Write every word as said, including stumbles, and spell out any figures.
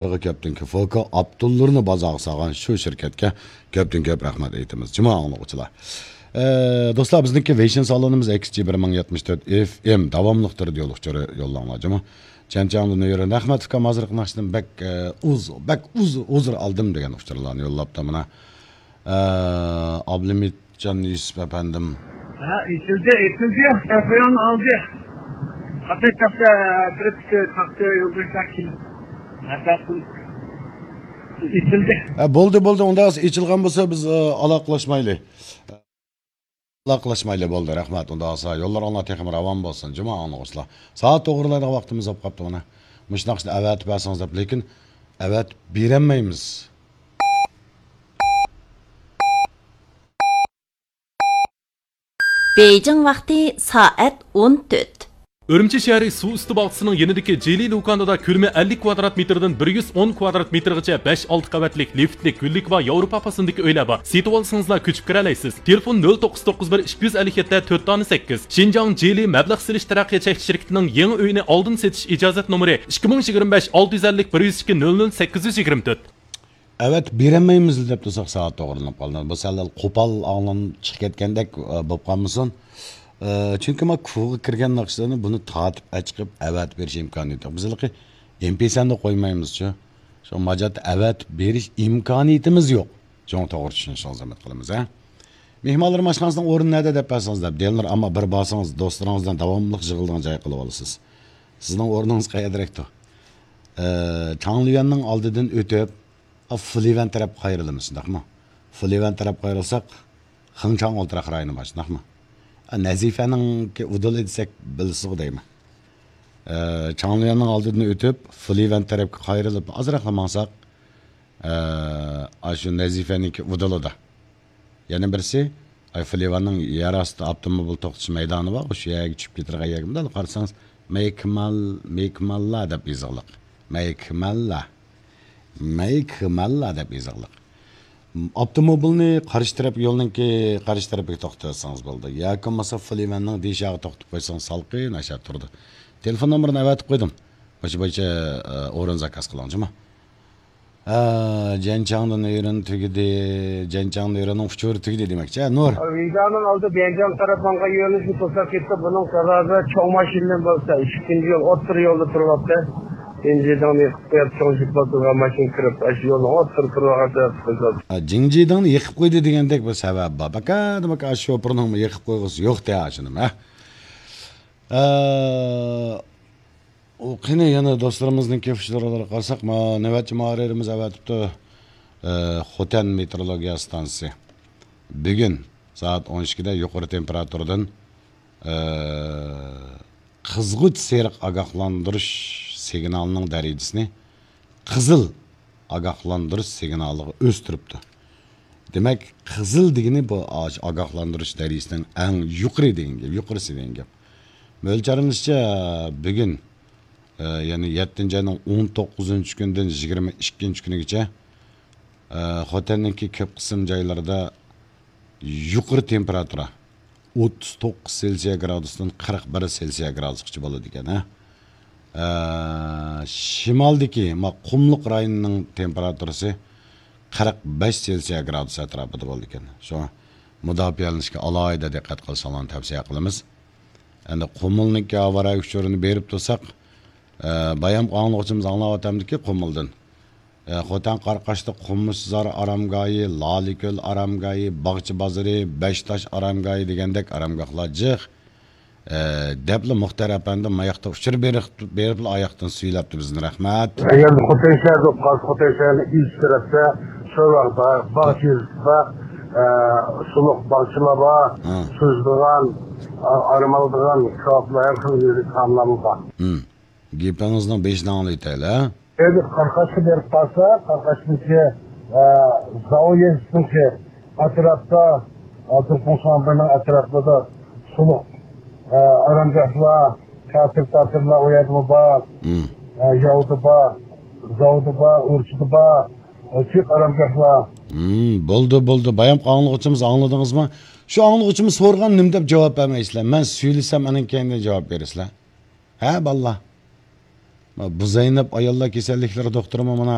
كەپتىنكى فوكا ئاپتونلىرىنى بازارغا سالغان شۇ شىركەتكە كۆپتىن كۆپ رەھمەت ئېيتىمىز، جۇما ئاڭلىغۇچىلار. ئە، دوستلار، بىزنىڭكى ۋېيشىن سالونىمىز ئېكس جى بىر مىڭ يەتمىش تۆت ئېف ئېم داۋاملىق تۈردە يول ئۇچۇرى يوللاڭلار، جۇما. چەنچاڭدىن يۈرۈن. رەھمەت ئۇكام، ھازىرقى ناخشىدىن بەك، ئە، ئۇز، بەك ئۇز، ئۇزۇر ئالدىم دېگەن ئۇچۇرلارنى يوللاپتۇ مانا. ئە، ئابلىمىتجان يۈسۈپ ئەپەندىم. ھە، ئېچىلدى، ئېچىلدى. تەلېفون ئالدى. قاپى تاختا، بىر تاختا يولدىن كېلىپ. ئېچىلدى. ھە، بولدى، بولدى. ئۇنداق ئېچىلغان بولسا بىز، ئە، ئالاقىلەشمەيلى. ئالاقىلەشمەيلى، بولدى، رەھمەت. ئۇنداق بولسا يوللىرىڭلار تېخىمۇ راۋان بولسۇن، جۇما ئاڭلىغۇچىلار. سائەت توغرىلايدىغان ۋاقتىمىز بولۇپ قاپتۇ مانا. مۇشۇ ناخشىنى ئەۋەتىپ بەرسىڭىز دەپ، لېكىن ئەۋەتىپ بېرەلمەيمىز. بېيجىڭ ۋاقتى سائەت ئون تۆت. ئۈرۈمچى شەھىرى سۇ ئۈستى باغچىسىنىڭ يېنىدىكى جىلى لۇكاندىدا كۆلىمى ئەللىك كۋادرات مېتىردىن بىر يۈز ئون كۋادرات مېتىرغىچە بەش، ئالتە قەۋەتلىك لىفتلىك، گۈللۈك ۋە ياۋروپا پاسىلىدىكى ئۆيلەر بار. سېتىۋالسىڭىزلا كۆچۈپ كىرەلەيسىز. تېلېفون نۆل توققۇز توققۇز بىر ئىككى يۈز ئەللىك يەتتە تۆت دانە سەككىز. شىنجاڭ جىلى مەبلەغ سېلىش تەرەققىيات چەكلىك شىركىتىنىڭ يېڭى ئۆيىنى ئالدىن سېتىش ئىجازەت نومۇرى ئىككى مىڭ يىگىرمە بەش، ئالتە يۈز ئەللىك، بىر يۈز ئىككى، نۆل نۆل، سەككىز يۈز يىگىرمە تۆت. ئەۋەتىپ بېرەلمەيمىز دەپ تۇرساق، سائەت توغرىلىنىپ قالدى. بۇ سەل قوپال ئاڭلىنىپ چىقىپ كەتكەندەك، ئە، بولۇپ قالمىسۇن. ئە، چۈنكى ما كۇغا كىرگەن ناخشىلارنى بۇنى تارتىپ ئەچىقىپ ئەۋەتىپ بېرىش ئىمكانىيىتى يوق. بىز ھېلىقى ئېم پى سەن دە قويمايمىزچۇ. شۇ ماجاتتا ئەۋەتىپ بېرىش ئىمكانىيىتىمىز يوق. چوڭ توغرا چۈشىنىشىڭىزنى ئۈمىد قىلىمىز، ھە؟ مېھمانلىرىم ئاشخانىسىنىڭ ئورنى نەدە دەپ بەرسىڭىز دەپ. دىلنۇر، ئەمما بىر بارسىڭىز دوستلىرىڭىز بىلەن داۋاملىق يىغىلىدىغان جاي قىلىپ ئالىسىز. سىزنىڭ ئورنىڭىز قەيەردىرەكتۇ؟ ئە، چاڭليۈەننىڭ ئالدىدىن ئۆتۈپ، ئا، فۇليۈەن تەرەپكە قايرىلىمىز، شۇنداقمۇ؟ فۇليۈەن تەرەپكە قايرىلساق، خېڭچاڭ ئولتۇراق رايونى بار، شۇنداقمۇ؟ ئا، نەزىفەنىڭكى ئۇدۇلى دېسەك بىلىسىزغۇ دەيمەن. ئە، چاڭليۈەننىڭ ئالدىدىن ئۆتۈپ، فۇليۈەن تەرەپكە قايرىلىپ، ئازراقلا ماڭساق، ئە، ئاشۇ نەزىفەنىڭكى ئۇدۇلىدا. يەنە بىرسى، ئاي، فۇليۈەننىڭ يەر ئاستى ئاپتوموبىل توختىتىش مەيدانى بار، شۇ يەرگە چۈشۈپ كېتىدىغان يەرگە مۇنداق قارىسىڭىز، مەيكمال-، مەيكماللا دەپ يېزىقلىق. مەيكماللا. مەيكماللا دەپ يېزىقلىق. ئاپتوموبىلنى قارشى تەرەپ يولنىڭكى قارشى تەرىپىگە توختىتىۋەتسىڭىز بولىدۇ. ياكى بولمىسا فۇليۈەننىڭ دېشاغا توختىتىپ قويسىڭىز سالقىن ئاشا تۇرىدۇ. تېلېفون نومۇرىنى ئەۋەتىپ قويدۇم. مۇشۇ بويىچە، ئە، ئورۇن زاكاز قىلىڭ، جۇمۇ. ھە، جەنچاڭدىن ئېرىن تۈگىدى، جەنچاڭدىن ئېرىننىڭ ئۇچۇرى تۈگىدى دېمەكچى، ھە، نۇر. ۋېيجانىڭ ئالدى بيەنجاڭ تەرەپ ماڭغان يۆنىلىشنى توساپ كەتتى. بۇنىڭ سەۋەبى چوڭ ماشىنىدىن بولسا، ئىككىنچى يول ئوتتۇرا يولدا تۇرۇۋاپتۇ. جىڭجىدىڭنى يېقىپ قويۇپ، چوڭ جىپ بولسا ماشىنا كىرىپ، ئاشۇ يولنىڭ ئوتتۇرا تۇرۇۋالغان سەۋەب قىلدى. ھە، جىڭجىدىڭنى يېقىپ قويدى دېگەندەك بىر سەۋەب بار. بەكەدە بەك ئاشۇ شوپۇرنىڭمۇ يېقىپ قويغۇسى يوق دە، ئاشۇنىمۇ، ھە. ئە، ئۇ قېنى يەنە دوستلىرىمىزنىڭ كېفىشلىرىغا قارىساق، ما، نۆۋەتچى مۇھەررىرىمىز ئەۋەتىپتۇ. ئە، خوتەن مېتېئورولوگىيە ئىستانسىسى بۈگۈن سائەت ئون ئىككىدە يۇقىرى تېمپېراتۇرىدىن، ئە، قىزغۇچ سېرىق ئاگاھلاندۇرۇش سىگنالىنىڭ دەرىجىسىنى قىزىل ئاگاھلاندۇرۇش سىگنالىغا ئۆستۈرۈپتۇ. دېمەك، قىزىل دېگىنى بۇ ئاش-، ئاگاھلاندۇرۇش دەرىجىسىنىڭ ئەڭ يۇقىرى دېگەن گەپ، يۇقىرىسى دېگەن گەپ. مۆلچەرلىنىشىچە، بۈگۈن، ئە، يەنى يەتتىنچى ئاينىڭ ئون توققۇزىنچى كۈنىدىن يىگىرمە ئىككىنچى كۈنىگىچە، ئە، خوتەننىڭكى كۆپ قىسىم جايلىرىدا يۇقىرى تېمپېراتۇرا، ئوتتۇز توققۇز سېلسىيە گرادۇستىن قىرىق بىر سېلسىيە گرادۇسقىچە بولىدىكەن، ھە. ئە، شىمالدىكى، ما، قۇملۇق رايونىنىڭ تېمپېراتۇرىسى قىرىق بەش سېلسىيە گرادۇس ئەتراپىدا بولىدىكەن. شۇڭا مۇداپىئەلىنىشكە ئالاھىدە دىققەت قىلىشىڭلارنى تەۋسىيە قىلىمىز. ئەمدى قۇمۇلنىڭكى ھاۋا رايى ئۇچۇرىنى بېرىپ تۇرساق، ئە، بايام ئاڭلىغۇچىمىز ئاڭلاۋاتامدىكى قۇمۇلدىن. ئە، خوتەن قاراقاشلىق قومۇشزار ئارامگاھى، لالىكۆل ئارامگاھى، باغچە بازىرى، بەشتاش ئارامگاھى دېگەندەك ئارامگاھلار جىق. ئە، دەپلا مۇختەر ئەپەندى ماياقتا ئۇچۇر بېرىپ، بېرىپلا ئاياقتىن سۈيلەپتۇ بىزنى، رەھمەت. ئەگەر خوتەن شەھەر بولۇپ قالسا، خوتەن شەھەرنىڭ ئىچ تەرەپتە، شورۋاغدا، باغچە يېزىسىدا، ئە، سۇلۇق باغچىلار بار، ھە. سۈزىدىغان، ئا-، ئارام ئالىدىغان كاۋاپلار، ھەر خىل يېرى تائاملارمۇ بار. ھىم. گېپىڭىزنىڭ بېشىنى ئاڭلىۋېتەيلى، ھە؟ ئەگەر قاراقاشقا بېرىپ قالسا، قاراقاشنىڭكى، ئە، زاۋۇ يېزىسىنىڭكى ئەتراپتا، ئالتۇن قوڭساڭبىرنىڭ ئەتراپىدا سۇلۇق، ئە، ئارامگاھلار، تىياتىر، تىياتىرلار ئۇ يەردىمۇ بار. مم. ئە، ياۋدا بار، زاۋدا بار، ئۇرچىدا بار. ئە، جىق ئارامگاھلار. مم، بولدى، بولدى. بايام ئاڭلىغۇچىمىز ئاڭلىدىڭىزمۇ؟ شۇ ئاڭلىغۇچىمىز سورىغان نېمە دەپ جاۋاب بەرمەيسىلەر؟ مەن سۈيلىسەم، ئانىڭ كەينىدىن جاۋاب بېرىسىلەر. ھە، بالىلار؟ بۇ زەينەپ ئاياللار كېسەللىكلىرى دوختۇرىمۇ مانا